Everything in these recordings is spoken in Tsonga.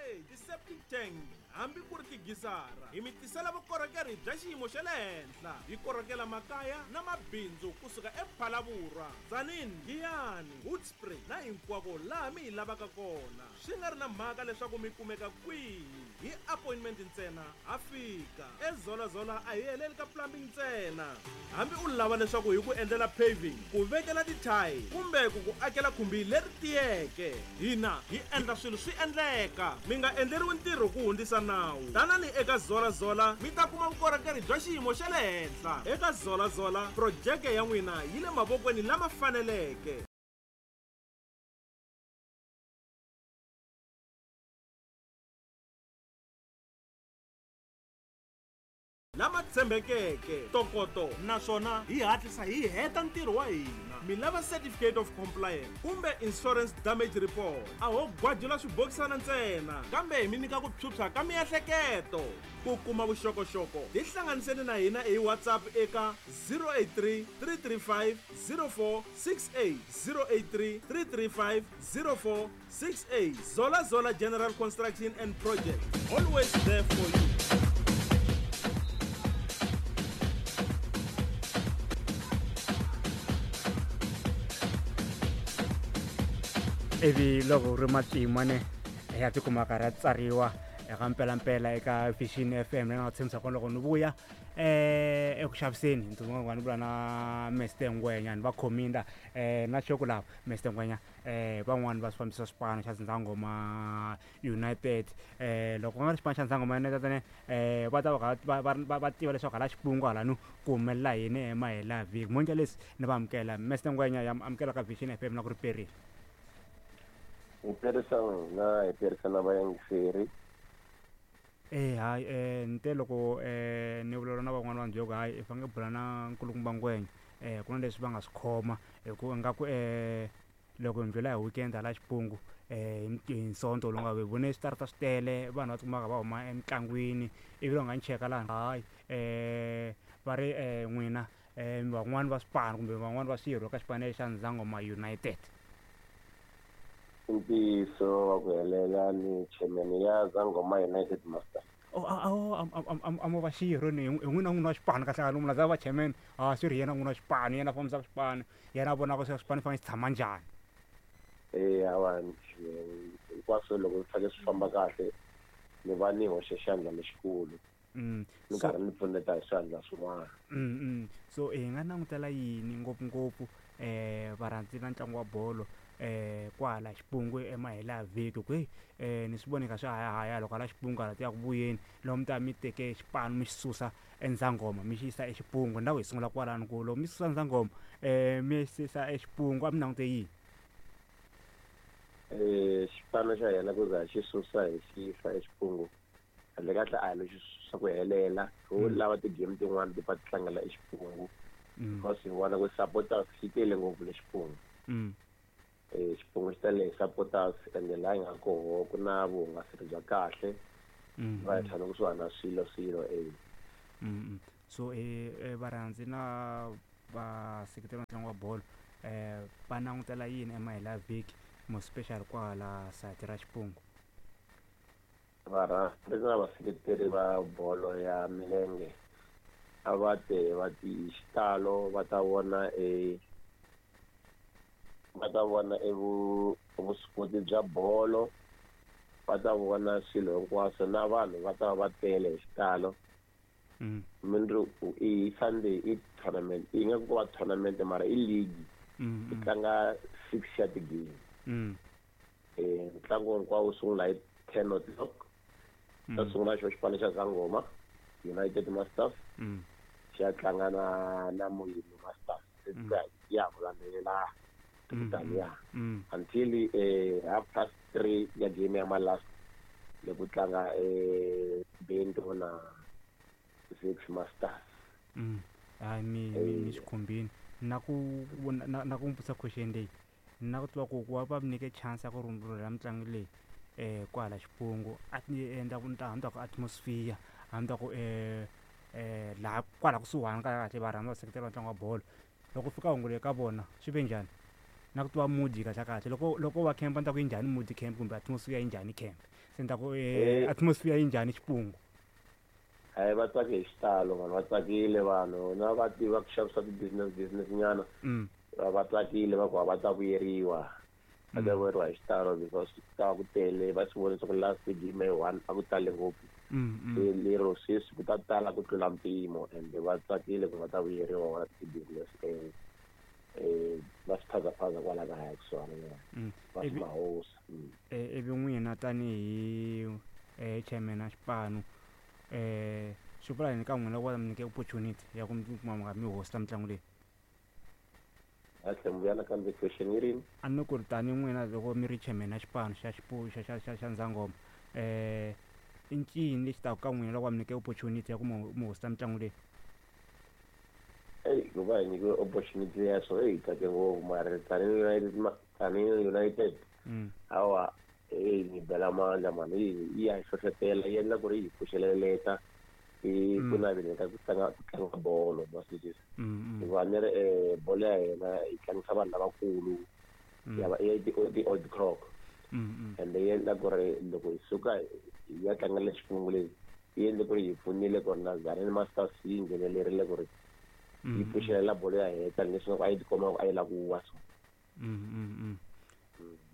Ti-drainage, ti-septic tank hambi ku ri tigizara. Hi mi tisela vukorhokeri bya xiyimo xa le henhla. Hi korhokela makaya na mabindzu kusuka ePhalaborwa, Tzaneen, Giyani, Hoedspruit na hinkwako laha mi hi lavaka kona. Swi nga ri na mhaka leswaku mi kumeka kwihi, hi appointment ntsena ha fika. EZola-Zola a hi heleli ka plumbing ntsena. Hambi u lava leswaku hi ku endlela paving, ku vekela ti-tile kumbe ku ku akela khumbi leri tiyeke, hina hi endla swilo swi endleka. Mi nga endleriwi ntirho ku hundzisa nawu. Tanani eka Zola-Zola mi ta kuma vukorhokeri bya xiyimo xa le henhla. Eka Zola-Zola, projeke ya n'wina yi le mavokweni lama faneleke. Lama tshembekeke, ntokoto naswona hi hatlisa hi heta ntirho wa hina. Mi lava Certificate of Compliance kumbe Insurance Damage Report? A ho gwajula swibokisana ntsena, kambe hi mi nyika ku phyuphya ka miehleketo. Ku kuma vuxokoxoko, tihlanganiseni na hina hi WhatsApp eka 083 335 0468, 083 335 0468. Zola Zola General Construction and Project, always there for you. Ivi loko ri matima ne ya tikuma karhi ya tsariwa eka mpelampela eka Vision FM, leyi nga tshembisa kona loko ni vuya eku xaviseni ni ni vula na Mr Ngwenya ni va khominda na xoko lava Mr Ngwenya van'wani va swi fambisa xipano xa Dzindzangoma United. Loko ku nga ri xipano xa Dzindzangoma United ne va ta va va va va tiva leswaku hala xipungu halano ku humelela yini emahela vhiki monke leswi ni va amukela Mr Ngwenya ya amukela ka Vision FM na ku ri perile. Hi perisa n'wina, hi perisa na vayingiseri. E hayi ni te loko ni vulavula na van'wani va ni byela ku hayi i fanele bula na nkulukumba Ngwenya ku na leswi va nga swi khoma hi ku ingaku loko hi ndlhula hi weekend hala xipungu hi Sonto lowu nga hi vone switarata swi tele vanhu va tikumaka va huma emitlangwini ivi va nga ni cheka laha hayi va ri n'wina van'wani va swipano kumbe van'wani va swirho ka xipano xa Ndzangoma United. I ntiyiso wa ku helela ni chairman ya Zangoma United Master. Oh, a a a mo va xirho ni hi n'wina n'wini wa xipano kahle kahle munhu a za va chairman a swi ri yena n'wini wa xipano yena a fambisaka xipano yena a vonaka swa xipano fanele xi tshama njhani. Eya hawa hinkwaswo loko swi fanele swi famba kahle ni va ni hoxe xandla lexikulu. Ni karhi ni pfuneta hi swandla swin'wana. So hi nga langutela yini ngopfungopfu varhandzi va ntlangu wa bolo kwala xipungu emahela vhiki ku heyi ni swi vone kha swi hayahaya loko hala xipungu hala ti ya ku vuyeni loko mi ta mi teke xipano mi xi susa eNdzangoma mi xi yisa eXipungu ni lava ku hi sungula kwalano ku loko mi susa Ndzangoma mi xi yisa eXipungu a mi langute yini. Xipano xa hina ku za hi xi susa hi xi yisa eXipungu kahle kahle a hi lo xi susa ku helela ho lava ti-game tin'wani ti pfa ti tlangela eXipungu because hi vona ku supporters yi tele ngopfu le Xipungu. Xipungu xi tele hi supporters ende laha hi nga koho ku na vuhungaselo bya kahle va hi tshame kusuhani na swilo swilo e. So varhandzi na vaseketeri va ntlangu wa bolo va langutela yini emahela vhiki more special kwala sayiti ra Xipungu? Varhandzi na vaseketeri va bolo ya milenge a va te va ti xitalo va ta vona e va ta vona e vuswikoti bya bolo va ta vona swilo hinkwaswo na vanhu va ta va va tele hi xitalo. Mindzuku i Sunday i tournament yi nga ku va tournament mara i league yi tlanga 6 ya ti-game. Ntlangu hinkwawo wu sungula hi 10 o'clock. Ta sungula xo xipano xa Zangoma United Masters xi ya tlanga na na Muyini Masters ya ku landzelela taniya until half past 3 ya game ya malast loko tlanga Bento na Six Masters. Hayi mi swi khumbini na ku na ku vutisa question leyi na ku tiva ku ku va va mi nyike chance ya ku rhurhela mitlangu leyi kwala Xipungu a ti endla ku ni ta ku atmosphere a ni ta ku laha kwala kusuhani kahle kahle va rhandza va seketela ntlangu wa bolo loko fika hungu leyi ka vona swi ve njhani na ku tiva mood kahle kahle loko loko va camp a ni ta ku yi njhani mood camp kumbe atmosphere yi njhani camp. Se ni ta ku atmosphere yi njhani Xipungu? Hayi, va tsake hi xitalo vanhu, va tsakile vanhu na va tiva ku xavisa ti-business nyana. Va tsakile, va ku va ta vuyeriwa, va ta vuyeriwa hi xitalo because ku ta va ku tele. Va swi vona leswaku last game yi one a ku tale ngopfu, se lero sweswi ku ta tala ku tlula mpimo, and va tsakile ku va ta vuyeriwa va ti-business va swiphazaphaza kwala kaya kusuhana va swi mahosi. Ivi n'wina tanihi chairman ya xipano, swi vula yini ka n'wina loko va mi nyike opportunity ya ku mi kuma mi nga mi hosta mitlangu leyi? A tlhe mi vuya nakambe, question yi rini? A ni ku ri tani n'wina loko mi ri chairman ya xipano xa xipu xa xa xa xa Ndzangoma, i ncini lexi taka ka n'wina loko va mi nyike opportunity ya ku mi hosta mitlangu leyi? Eyi, ku va hi nyikiwe opportunity ya so, eyi, tsake ngopfu. Mara tanihi United, tanihi United, hawa, eyi, ni bela mandla mani, yi ya hi hlohlotela, yi endla ku ri hi pfuxeleleta i ku naveleni ka ku tlanga bolo, ma swi twisisa? Hikuva ni ri bolo ya hina yi tlangisa vanhu lavakulu, ya va i ti-old crop, ende yi endla ku ri loko hi suka hi ya tlangela Xipungu leyi, yi endle ku ri hi pfunile ku ri na Tzaneen Masters yi nghenelerile ku ri yi pfuxelela bolo ya hina, tanihileswi a yi tikomba ku a yi lava ku wa so.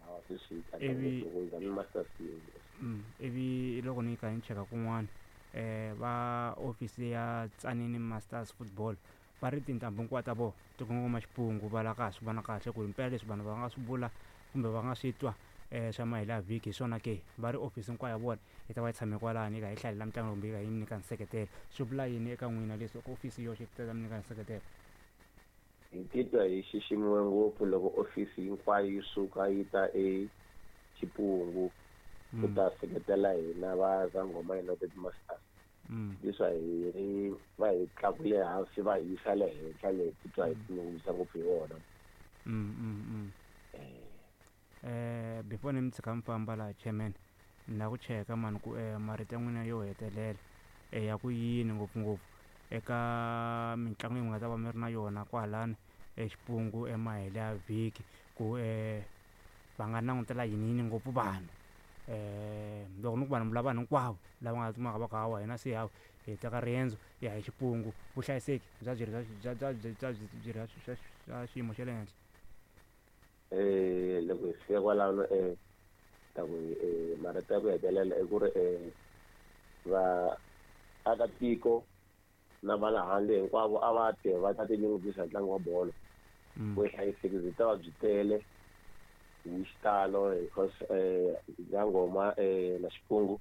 Hawa, sweswi yi tsaka ngopfu loko Tzaneen Masters yi Ivi loko ni kha ni cheka kun'wana, va office ya Tzaneen Masters Football va ri tintambu hinkwato ta vona ti kongoma Xipungu. Va la ka swi vona kahle ku himpela leswi vanhu va nga swi vula kumbe va nga swi twa swa mahelo ya vhiki hi swona ke. Va ri office hinkwayo ya vona yi ta va yi tshame kwalani, yi kha yi hlalela mitlangu kumbe yi kha yi nyika nseketelo. Swi vula yini eka n'wina leswi ofisi yoxe yi ta mi nyika nseketelo? Hi titwa hi xiximiwe ngopfu loko ofisi hinkwayo yi suka yi ta eXipungu ku ta seketela hina va Zangoma United Masters. Leswi hi ri va hi tlakule hansi va hi yisa le henhla le, titwa hi tinyungubyisa ngopfu hi vona. Before ni mi tshika mi famba laha, chairman, ni lava ku cheka mani ku marito ya n'wina yo hetelela ya ku yini, ngopfungopfu eka mitlangu leyi mi nga ta va mi ri na yona kwalani eXipungu emahelo ya vhiki, ku va nga langutela yini yini ngopfu vanhu? Loko ni ku vanhu, vula vanhu hinkwavo lava nga kumaka va ku hawa hina se hawa hi teka riendzo hi ya hi Xipungu, vuhlayiseki bya byi ri bya byi ri bya xiyimo xa le henhla? Loko hi fika kwalano, ta ku marito ya ku hetelela i ku ri va akatiko na va le handle hinkwavo a va te va ta tinyungubyisa hi ntlangu wa bolo. Vuhlayiseki byi ta va byi tele hi xitalo because Zangoma na Xipungu.